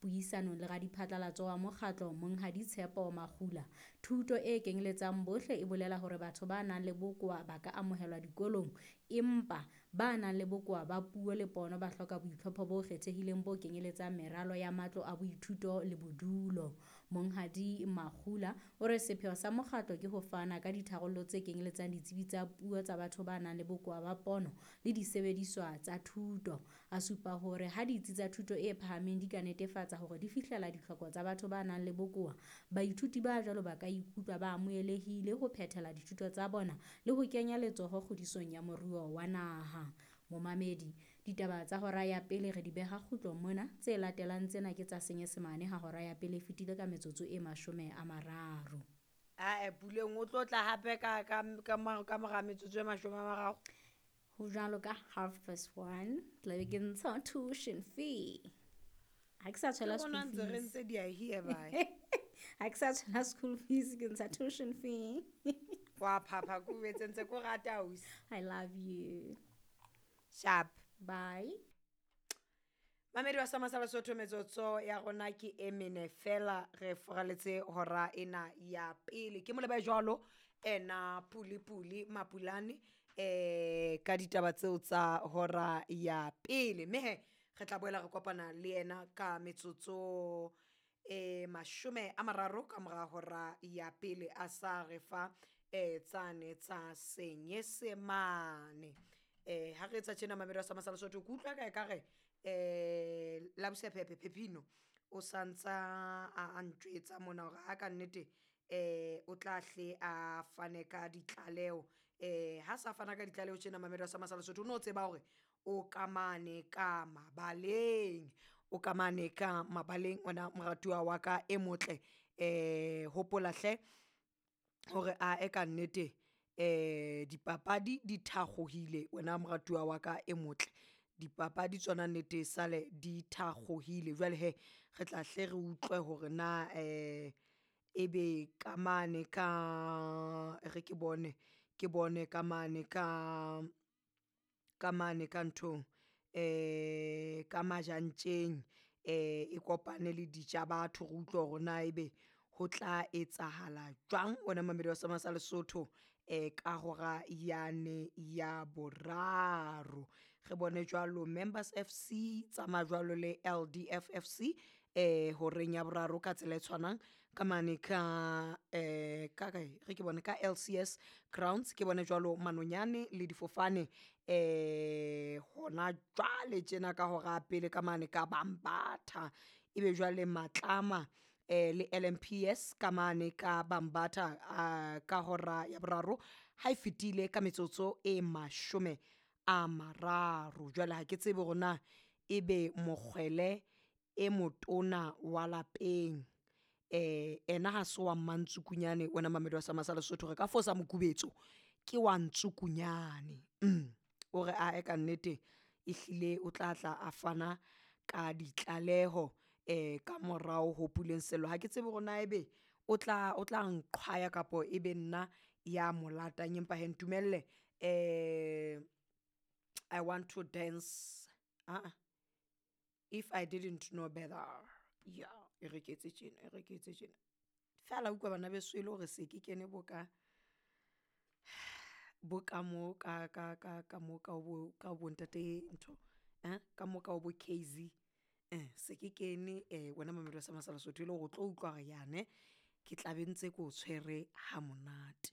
Puisanong le radiphatlalatso wa mokgatlo Monghadi Tshepo Makgula, thuto e kenyeletsang bohle e bolela hore batho ba nang le bokowa ba ka amohelwa dikolong, empa ba nang le bokowa ba puo le pono ba hloka boitlhopho bo kgethehileng bo kenyeletsang meralo ya matlo a boithuto le bodulo. Monghadi Makgula o re sepheo sa mokgatlo ke ho fana ka ditharollo tse kenyeletsang ditsebi tsa puo tsa batho ba nang le bokowa ba pono le disebediswa tsa thuto. A supa hore ha ditsi tsa thuto e phahameng di ka netefatsa hore di fihlela ditlhoko tsa batho ba nang le bokowa, baithuti ba jwalo ba ka ikutlwa ba amohelehile ho phethela dithuto tsa bona le ho kenya letsoho kgodisong ya moruo wa naha. Momamedi, ditaba tsa hora ya pele re di beha kgutlong mona, tse latelang tsena ke tsa Senyesemane ha hora ya pele e fetile ka metsotso e 30. Ae, Puleng o tlo tla hape ka mora metsotso e 30. Ho jwalo ka 1:30, tlabe ke ntsha tuition fee. Ha ke sa tshwela Ke school rona ntse re fees. ntse di a here bye. Ha ke sa tshwela school fees, ke ntsha tuition fee. Wa phapha ko etse ntse ko rata ausi. I love you. Sharp. Bye. Mamedi wa Sama sa Lesotho, metsotso ya rona ke e mene fela re foraletse hora ena ya pele. Ke moleba jwalo ena Puli Puli Mapulane ka ditaba tseo tsa hora ya pele. Mme he re tla boela re kopana le yena ka metsotso e 30 ka mora hora ya pele a sa re fa tsane tsa Senyesemane. Ha re etsa tjena mamedi wa Sama sa Lesotho, ke utlwa ka ekare Labosepepe Pepino o santsa a ntjwetsa mona hore ha ka nnete o tla hle a fane ka ditlaleho. Ha sa fana ka ditlaleho tjena mamedi wa Sama sa Lesotho, o no tseba hore o ka mane ka mabaleng, o ka mane ka mabaleng wena moratuwa wa ka e motle. Hopola hle hore a e ka nnete dipapadi di thakgohile wena moratuwa wa ka e motle, dipapadi tsona nnete sale di thakgohile. Jwale hee re tla hle re utlwe hore na ebe ka mane ka re ke bone ka mane ka mane ka nthong ka Majantjeng e kopane le Dijabatho. Re utlwe hore na ebe ho tla etsahala jwang wena mamedi wa Sama sa Lesotho ka hora yane ya boraro. Re bone jwalo Members FC tsamaya jwalo le LDF FC horeng ya boraro ka tsela e tshwanang ka mane ka ka kae re ke bone ka LCS Grounds, ke bone jwalo Manonyane le difofane hona jwale tjena ka hora pele ka mane ka Bambatha, ebe jwale Matlama le LMPS ka mane ka Bambatha ka hora ya boraro ha e fetile ka metsotso e 30. Jwale ha ke tsebe hore na ebe mokgwele e motona wa lapeng ena ha se wa Mmantsukunyane wena mamedi wa Sama sa Lesotho, re ka fosa mokubetso ke wa Ntsukunyane. O re ae ka nnete ehlile o tla tla a fana ka ditlaleho ka morao ho Puleng Sello. Ha ke tsebe hore na ebe o tla nqhwaya kapa ebe nna ya mo latang, empa hee ntumelle I want to dance aa if I didn't know better. Ya e re ke etse tjena, e re ke etse tjena fela utlwa bana beso e le hore se ke kene bo ka bo ka mo ka mo ka bo ntate ntho ka mo ka bo KZ se ke kene wena mamedi wa Sama sa Lesotho e le hore o tlo utlwa hore yane ke tla be ntse ko tshwere ha monate.